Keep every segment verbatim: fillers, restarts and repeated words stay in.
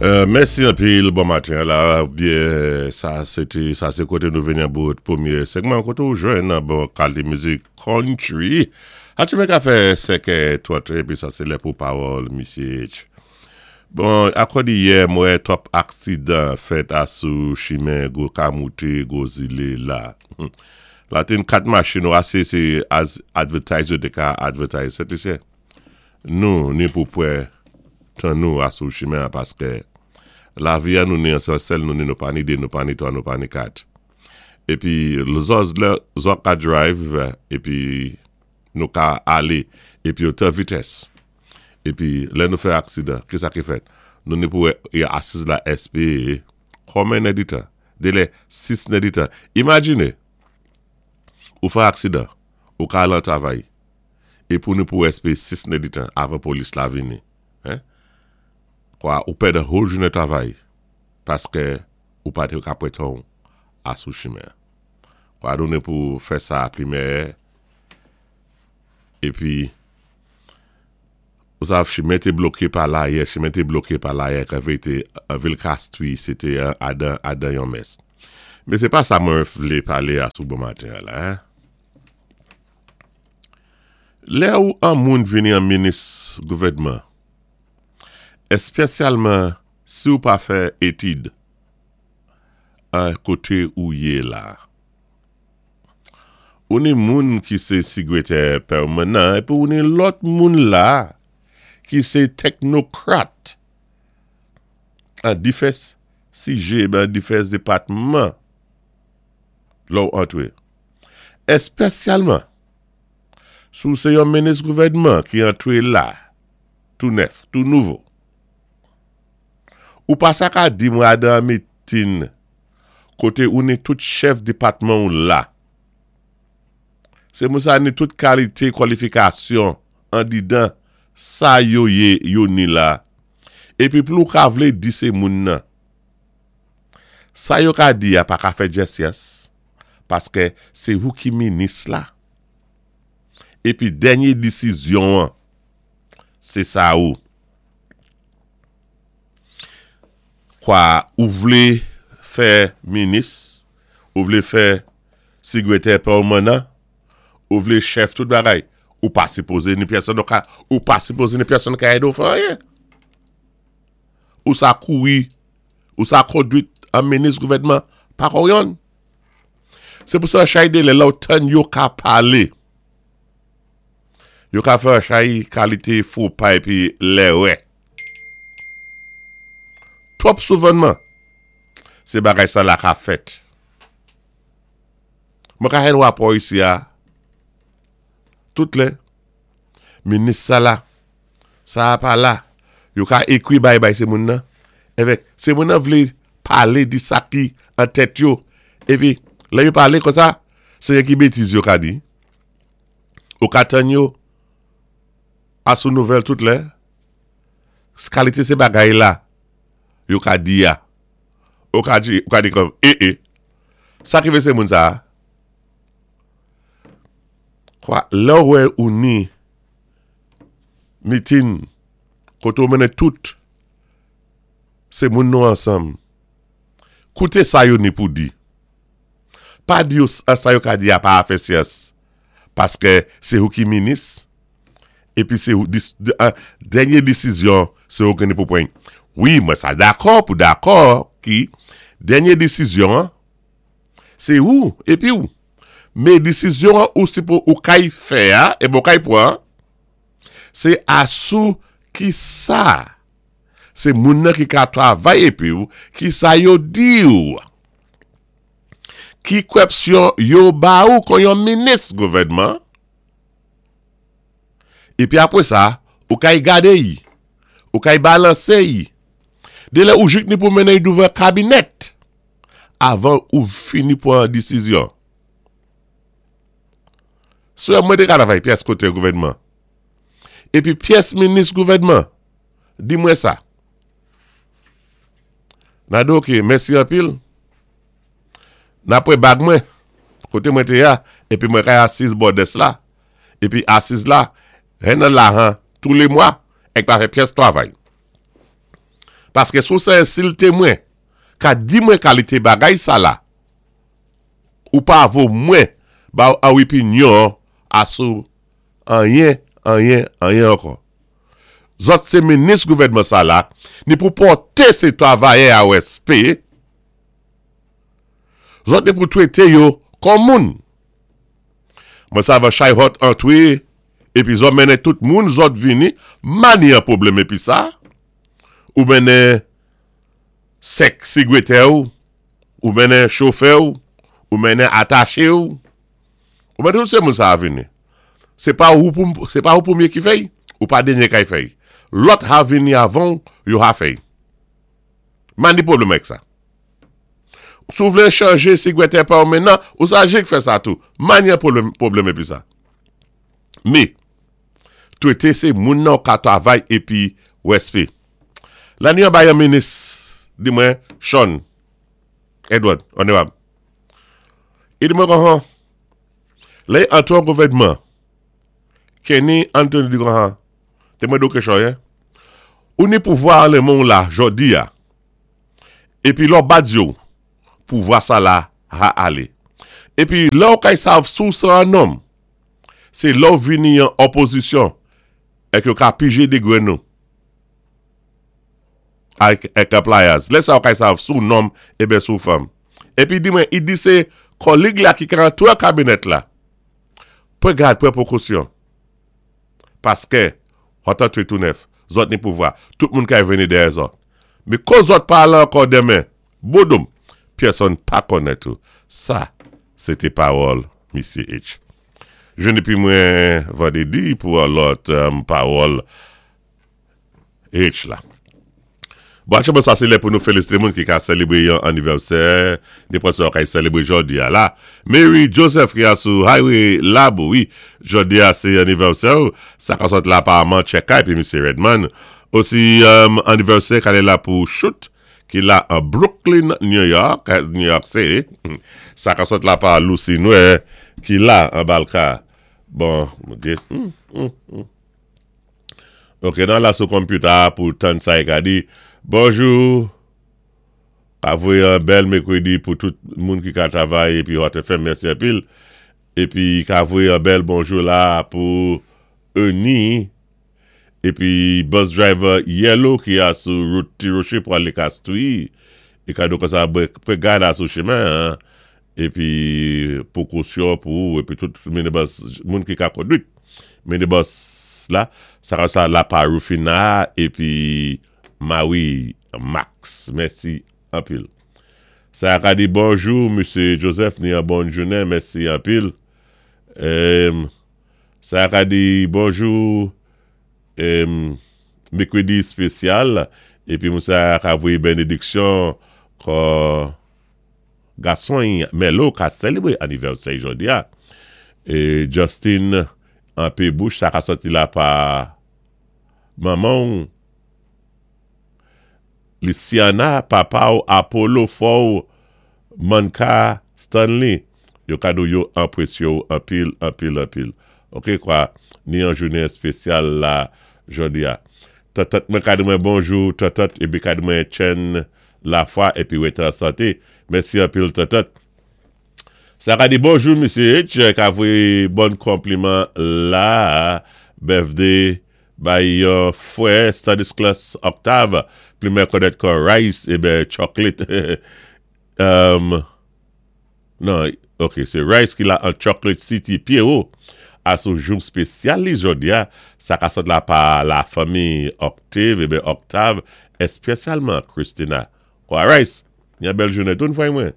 Euh, mèsi anpil, bon maten la, byen, sa sété, sa sé koté nou vini an bout pwémyé segman, koté ou jwenn an bon kalité mizik country. A ti ka fè senkè twant, épi sa sé lè pou pawòl misyé H. Bon, akòdi yè, mwen twòp aksidan fèt asou chimen go ka mouté, go zilé la. La té kat machin ou asé sé as advertise yo té ka advertise, Sent Lisyen. Nou, ni pou pwan tan nou asou chimen paské lavi a nou ni an sèl nou ni nou pa ni dé, nou pa ni twa, nou pa ni kat. Épi, lòt lè, zòt ka drive, épi nou ka alé, épi otan vitès. Épi, lè nou fè aksidan, ki sa ki fèt? Nou ni pou y asiz la espéwé, konmen èditan? Délè sis èditan. Imajiné, ou fè aksidan, ou ka al an travay, é pou nou pou espéwé sis èditan avan polis la vini. Hein? Kwa, ou pèd whole jounen travay, paské ou pa té ka pwan tan asou chimen. Kwa, nou ni pou fè sa pli mèyè, épi, ou sav, chimen té bloké pa la yè, chimen té bloké pa la yè, kan té vil Castries, sété adan, adan yon mess. Mé sé pa sa mwen vlé palé asou bon maten la, hein? Lè ou an moun vini an minis gouvèdman, espésyalman si ou pa fè étid an koté ou yé la. Ou ni moun ki sé sigwétè pèmanan, épi ou ni lòt moun la ki sé teknokrat an difès sijè, ben difès dépatman lò ou antwé. Espésyalman, si ou sé yon minis gouvèdman ki antwé la, tou nèf, tou nouvo, ou pa sa ka di mwen adan meeting koté ou ni tout chèf dépatman ou la. Sé moun sa ni tout kalité kwalifikasyon andidan sa yo yé yo ni la. Épi plou ka vlé di sé moun nan. Sa yo ka di a pa ka fè djès paské sé ou ki minis la. Épi dènyé désizyon an, sé sa ou. Kwa ou vlé fè minis, ou vlé fè sigwétè pèmanan, ou vlé chèf tout bagay, ou pa sipozé ni pèsonn ka, ou pa sipozé ni pèsonn ka édé ou fè anyen. Ou sa kouri, ou sa kondwit an minis gouvèdman, pa kon yon. Sé pou sa chay dé lè lò tann yo ka palé. Yo ka fè chay kalité fo pa épi lèrè. Twòp souvanman, sé bagay sa la ka fèt. Mwen ka jwenn wapò isi a, tout lè, minis sa la, sa pa la, yo ka ékwi bay bay sé moun nan, évèk, sé moun nan vlé palé di sa ki an tèt yo, épi, lè yo palé kon sa, sé yon ki bétiz yo ka di. Ou ka tann yo, asou nouvèl tout lè, kalité sé bagay la, yo ka di ya. Ou ka di, ou ka di kòm, eh eh, sa ki fè sé moun sa? Kwa, lè ou wè ou ni meeting, koté ou mennen tout, sé moun nou ansanm. Kouté sa yo ni pou di. Pa di yo sa yo ka di a pa fè syans, paské sé ou ki minis, épi sé ou, dis, de, uh, dènyé désizyon, sé ou ki ni pou pwan. Wi, mwen sa dakò pou dakò ki dènyé désizyon, an, sé ou, épi ou. Mé désizyon an, ou si pou ou kay fè a, é bon kay pwan, sé asou ki sa. Sé moun nan ki ka travay épi ou, ki sa yo di ou. Ki kwèpsyon yo ba ou kon yon minis gouvèdman. Épi apwé sa, ou kay gadé yi, ou kay balansé yi. Dé lè ou jik ni pou mennen douvan kabinèt, avan ou fini pou an désizyon. Sou mwen té ka travay pyès koté gouvèdman. Épi pyès minis gouvèdman, di mwen sa. Nado ok, mèsi anpil. Napwé bag mwen, koté mwen té ya, épi mwen kay asiz bò desk la. Épi asiz la, hen nan la han, tou lé mwa, èk pa fè pyès travay. Paské si ou sé ensilté mwen, ka di mwen kalité bagay sa la, ou pa vo mwen ba ou opinyon asou anyen, anyen, anyen ankò. Zòt sé minis gouvèdman sa la, ni pou pòté sé twavayè a wèspè, zòt ni pou twété yo kòm moun. Mwen sav chay hot antwé, épi zòt mennen tout moun zòt vini, mani an pwoblèm épi sa, ou mennen sèk sigwétè ou, ou mennen chofè ou, ou mennen ataché ou, ou mennen tout sé moun sa a vini. Sé pa ou pou, sé pa ou pwémyé ki fè'y, ou pa dènyé kay fè'y. Lòt ha vini avan, yo ha fè'y. Mani pwoblèm avèk sa. Si ou vlé chanjé sigwétè pa ou mennan, ou sa jik fè sa tou. Mani an pwoblèm, pwoblèm épi sa. Mé, twété sé moun nan ka twavay épi wèspè. Lani an bay an minis, di mwen, Sean, Edward, onorab. I di mwen kon han, lè antwé an gouvèdman, Kenny Anthony di kon han, té mwen do kéchon, hein? Ou ni pouvwa an lé moun la, jòdi a, épi lò bat yo, pouvwa sa la, ha alé. Épi lò ou kay sav sou sa an nonm, sé lò vini an opozisyon, èk yo ka pijé dé gwenn nou. Ak, ak pliers. Lè sa ou kay sav sou nonm, ébé sou fanm. Épi di mwen, i di sé kòlig la ki ka antwé kabinèt la. Pwan gad, pwan pwékosyon. Paské, hot antwé tou nèf, zòt ni pouvwa, tout moun kay vini dèyè zòt. Mé kon zòt pa la ankò denmen, bodoum, pèsonn pa konnen tou. Sa, sé té pawòl Misyé H. Jwenn épi mwen vandédi pou an lòt um, pawòl H la. Bon, aktyèlman sa sé lè pou nou félisité moun ki ka sélébré yon anivèsè, ni pwé kay sélébré jòdi a la. Mary Joseph ki a sou Highway Labo, wi, jòdi a sé anivèsè, sa ka sot la pa Armand Cheka épi Misyé Redman. Osi um, anivèsè ka la pou Shoot, ki la an Brooklyn, New York, New York City. Sa ka sot la pa Lucy Noé, ki la an Balka. Bon, mm, mm, mm. Ok, nan la sou computer pou tann sa e ka di, bonjou, ka voyé an bèl mèkwédi pou tout moun ki ka travay épi Hot F M, mèsi anpil. Épi ka voyé an bèl bonjou la pou Ernie, épi bus driver Yellow ki a sou wout Ti Rocher pou alé Castries. É ka do kon sa pwé gad a sou chimen, hein. Épi pwékosyon pou épi tout minibus moun ki ka kondwit minibus la, sa ka sa la pa Rufina épi Maui Max. Mèsi anpil. Sa ka di bonjou, Misyé Joseph, ni an bòn jounen, mèsi anpil. Um, sa ka di bonjou, um, mèkwédi spésyal, épi moun sa ka voyé bénédiksyon kon gason Melo ka sélébré anivèsè jòdi a. É Justin an pé bouch, sa ka sòti la pa manman Luciana, papa ou Apollo Fou Manka Stanley. Yo kado yo anpwésyo anpil, anpil, anpil. Ok, kwa, ni an jounen spésyal la jòdi a. Tatat mwen kado mwen bonjou, tatat, épi kado mwen chen la fwa, épi wété an santé. Mèsi anpil, tatat. Sa ka di bonjou, Misyé H, ka voyé bon konpliman la, birthday bay yon fwè Stanislas Octave, pli mwen konnèt kon Rice, ébé chocolate. um, non, ok, sé Rice ki la an Chocolate City, Pierrot, a sou jou spésyal li jòdi a, sa ka sot la pa la fanmi Octave, ébé Octave, espésyalman Christina. Kwa Rice, yon bèl jounen tout fwa mwen.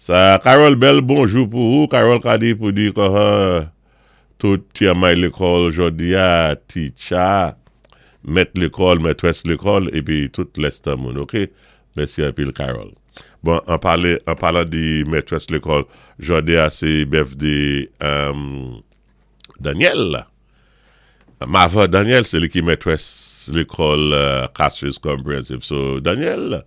Sa, Carol Bell, bonjou pou ou. Carol ka di pou di kon tout ti amay lékòl jòdi a, teacher, mèt lékòl, mètrès lékòl, épi tout lèstan moun, ok? Mèsi anpil, Carol. Bon, an palé, an palan di mètrès lékòl, jòdi a sé birthday um, Daniel. Mava Daniel, sé li ki mètrès lékòl uh, Castries Comprehensive. So, Daniel,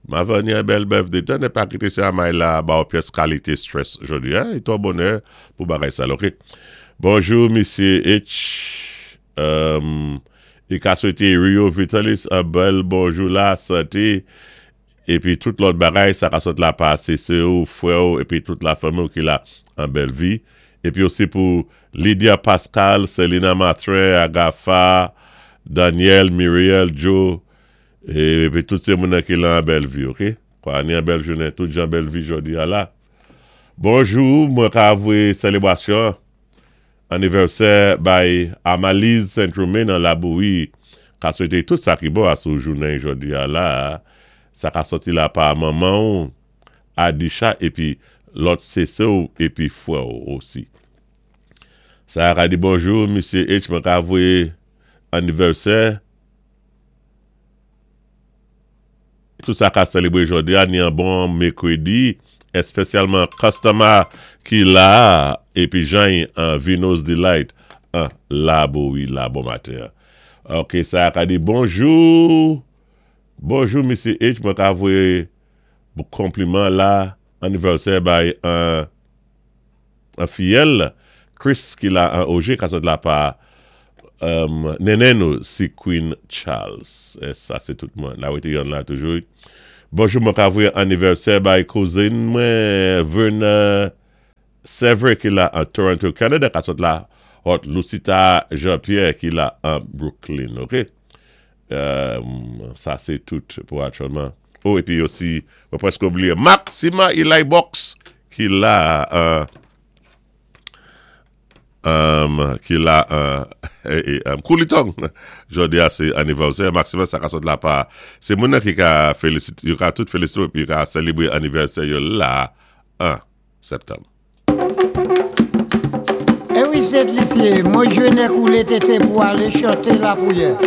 Mava ni an bèl birthday, tan né pa kité sé amay la ba ou pyès kalité stress jòdi, hein? I twò bonè pou bagay sa, ok? Bonjou, Misyé H. Um, I ka swété Rio Vitalis an bèl bonjou la, santé, épi tout lòt bagay, sa ka sot la pa sè ou, frè ou, épi tout la fanmi ki la an bèl vi. Épi osi pou Lydia Pascal, Selina Matrin, Agafa, Daniel, Muriel, Joe, épi tout sé moun ki la an bèl vi, ok? Kwa, ni an bèl jounen, tout jan bèl vi jòdi a la. Bonjou, mwen ka voyé sélébwasyon anivèsè bay Amalise Saint-Romain nan Labouyi, ka swété tout sa ki bon asou jounen jòdi a la, sa ka sòti la pa manman ou, Adisha, épi lòt sè ou, épi frè ou osi. Sa ka di bonjou, Mesye H, mwen ka voyé anivèsè, tout sa ka sélébwé jòdi a, ni an bon mèkwédi, espesyalman customer ki la, épi Jean an Vino's Delight, an Labouyi la, bon maten. Ok, sa ka di bonjou, bonjou Mesye H, mwen ka voyé konpliman la, anivèsè bay an, an fiyèl, Chris ki la an O G, ka sot la pa um, nenen nou si Queen Charles. É sa sé tout moun. La wété yon la toujou. Bonjou, mwen ka voyé anivèsè bay kouzin mwen Verna Sever ki la an Toronto, Canada, ka sot la hot Lucita Jean-Pierre ki la an Brooklyn, ok? Um, sa sé tout pou aktyèlman. Oh, épi osi, mwen prèsk oubliyé, Maxima Eli Box ki la an um, ki la uh, eh, eh, um, Koulitong. Jòdi a sé anivèsè Maxima, sa ka sot la pa sé moun nan ki ka félisité, yo ka tout félisité épi yo ka sélébwé anivèsè yo la an septanm. Eh wi, Sent Lisi, mwen jounen koulé tété pou alé chanté la pwiyè.